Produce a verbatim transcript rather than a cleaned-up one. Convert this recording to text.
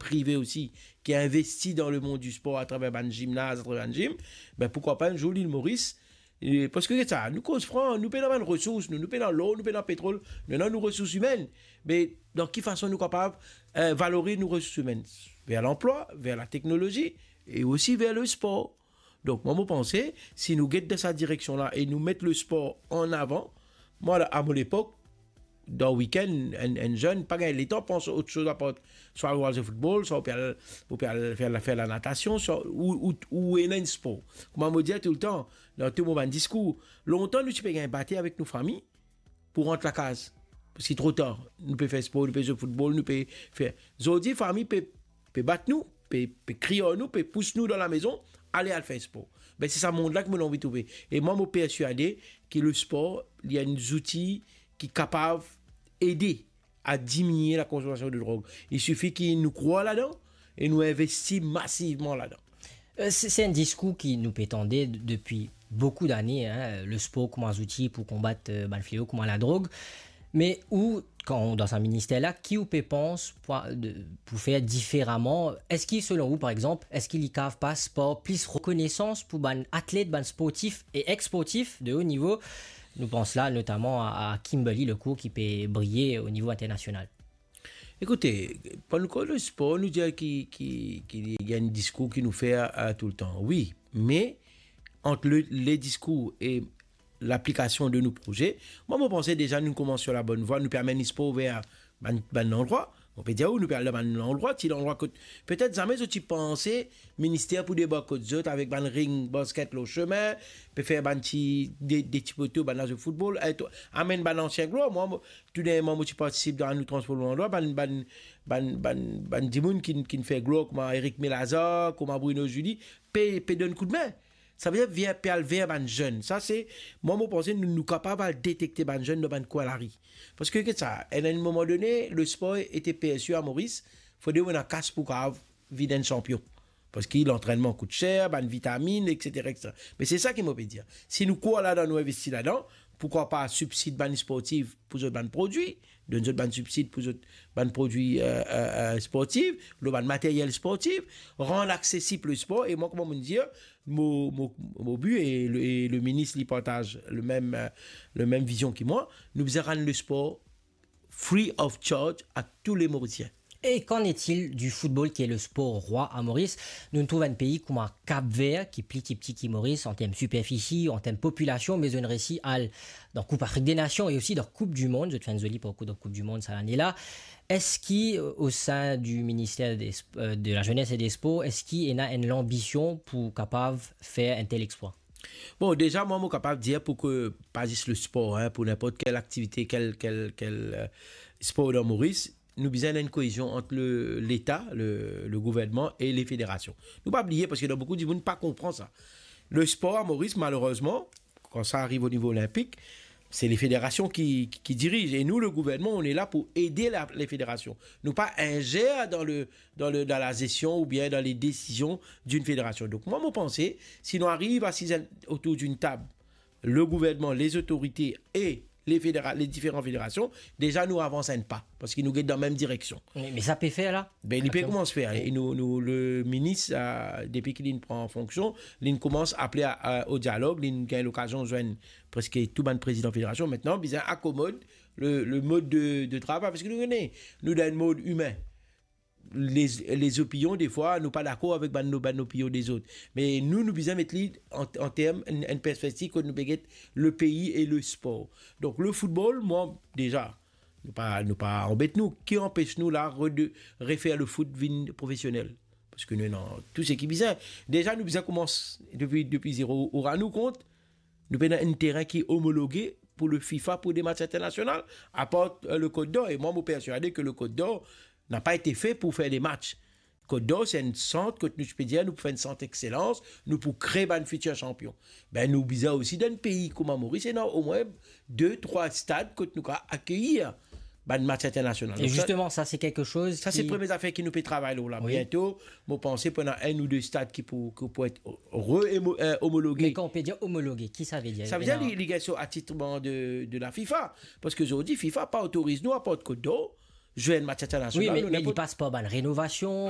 prive osi, ki investi dan lemond di spor atraver bann zimnaz, atraver bann zim, be, poukwa pa enn zour Lil Moris, e, parski sa, nou koz fran, nou pena bann resours, nou, nou pena lor, nou pena petrol, nou ena nou resours imenn. Me dan ki fason nou kapav, e, valoriz nou resours imenn? Ver lanplwa, ver lateknolozi, e osi ver lespor. Donk, mwa, mo panse, si nou get dan sa direksion la e nou met lespor an avan, mwa, la, a mo lepok, dan wikenn, enn, enn zenn pa gagn letan pans ot soz apar swa al zwe foutbol, swa ou pe al, ou pe al fer la, fer lanatasion, swa ou, ou, ou ena enn spor. Kouma mo dir toultan, dan tou mo bann diskour, lontan nou ti pe gagn bate avek nou fami, pou rant lakaz. Parski tro tar, nou pe fer spor, nou pe zwe foutbol, nou pe fer. Zordi, fami pe, pe bat nou, pe, pe kriy ar nou, pe pous nou dan lamezon, ale al fer spor. Be, se sa mond la ki mo anvi trouve. E mwa, mo perswade ki lespor, li enn zouti ki kapav ede a diminie lakonsomasion de drog. Il sifi ki nou krwar ladan e nou investi masivman ladan. Euh, se, se enn diskour ki nou pe tande d-, depi boukou dane, hein, lespor kouma zouti pou konbat, euh, bann fleo kouma ladrog. Me ou, kan ou dan sa minister la, ki ou pe pans pou, de, pou fer diferaman? Eski, selon ou, par exanp, eski li kav pas par plis rekonesans pou bann atlet, bann sportif e ex-sportif de haut niveau? Nou pans la notaman a, a Kimberly Lecourt ki pe briye o nivo internasional. Ekoute, kan nou koz lespor, nou dir ki, ki, ki li enn diskour ki nou fer, a, toultan. Wi, me ant le, le diskour e laplikasion de nou proze, mwa, mo panse deza nou koumans lor labonn vwa, nou pe amenn lespor ver bann, bann landrwa. Mo pe dir ou, nou pe al dan bann landrwa, ti landrwa kot petet zame zot ti panse minister pou debark kot zot avek bann ring basket lor sime, pe fer bann ti, de, de ti poto, bann lazwe foutbol, e to-, amenn bann ansien glwar. Mwa, mo, tou dernyerman, mo ti partisip dan nou transpor landrwa, bann, bann, bann, bann, bann dimoun ki, ki fer glwar, kouma Eric Melazar, kouma Bruno Julie, pe, pe donn koudme. Savedir, vinn, pe al ver bann zenn. Sa, se, mwa, mo panse nou, nou kapav al detekte bann zenn dan bann kwin lari. Parski, get sa, a enn moman done, lespor ete persi a Moris, fode ou ena kas pou kav vinn enn sanpion. Parski lantrennman kout ser, bann vitaminn, et cetera, et cetera. Me se sa ki mo pe dir. Si nou krwar ladan, nou investi ladan, poukwa pa sibsid bann sportif pou zot bann prodwi, donn zot bann sibsid pou zot bann prodwi, euh, euh, euh, sportif, lor bann materyel sportif, rann aksesib lespor, e mwa, kouma mo dir, mo, mo, mo bi e le, e le minis, li partaz le mem, euh, le mem vizion ki mwa, nou bizin rann lespor free of charge a tou le Morisien. Et qu'en est-il du football, qui est le sport roi à Maurice? Nou trouv enn pei kouma Cap-Vert, ki pli ti pti ki Moris, an term siperfisi, an term popilasion, me zot inn resi al dan Koup Afrik de Nasion e osi dan Koup di Mond. Zot fer enn zoli parkour dan Koup di Mond sa lane la. Eski, euh, au sein du ministère des Sp-, euh, de la Jeunesse et des Sports, eski ena enn lanbision pou kapav fer enn tel explwa? Bon, deza, mwa, mo kapav dir pou ke, pa zis lespor, hein, pou ninport kel aktivite, kel, kel, kel, euh, spor dan Moris, nou bizin enn koezion ant le, Leta, le, le gouvernman e le federasion. Nou pa bliye, parski dan boukou dimoun pa konpran sa. Lespor a Moris, malerezman, kan sa ariv o nivo olinpik, se le federasion ki, ki, ki diriz. E nou, le gouvernman, on est là pour aider la, les fédérations. Nou pa inzer dan le, dan le, dan la zestion oubien dan le desizion d'une fédération. Donk, mwa, mo panse, si nou ariv asiz otour d'une table, le gouvernman, les autorités et les fédéra-, les différentes fédérations, deza nou avans enn pa, parski nou get dan mem direksion. Me, me sa pe fer la? Be, li pe koumans fer, e nou, nou, le minis, euh, depi ki li'nn pran fonksion, li'nn koumans apele a, a, o dialog, li'nn gagn lokazion zwenn preske tou bann prezidan federasion. Aster, bizin akomod le, le mod de, de travay, parski nou kone, nou dan enn mond imin. Les, les opinions, defwa, nou pa dakor avek bann, bann opinion dezot. Me nou, nou bizin met li an, an term, enn, enn perspektiv kot nou pe get le pei e le spor. Donk, le foutbol, mwa, deza, nou pa, nou pa anbet nou. Ki anpes nou la re-, de, refer le foot vinn profesionel? Parski nou ena tou seki bizin. Deza, nou bizin koumans depi, depi zero. Ou rann ou kont, nou pena enn terin ki omologe pou le FIFA pou de match internasional, apar, euh, le Côte d'Or. E mwa, mo perswade ke le Côte d'Or n'a pas été fait pour faire des matchs. Côte d'Or, se enn sant kot nou ti pe dir, nou pou fer enn sant exselans, nou pou kree bann fitir sanpion. Be, nou bizin osi dan enn pei kouma Moris, ena omwin de, trwa stad kot nou kapav akeyir bann match internasional. E zisteman, sa, se kiksoz ki... Sa, se premie zafer ki nou pe travay lor la. Wi. Biento, mo panse pou ena enn ou de stad ki pou, ki pou et re-, emo-, euh, omologe. Me kan ou pe dir omologe, ki sa ve dir? Sa ve dir li, li gagn so atitreman de, de la FIFA. Parski zordi, FIFA pa otoriz nou, apar Côte d'Or, zwe enn match internasional. Wi, me, me li pas par bann renovasion,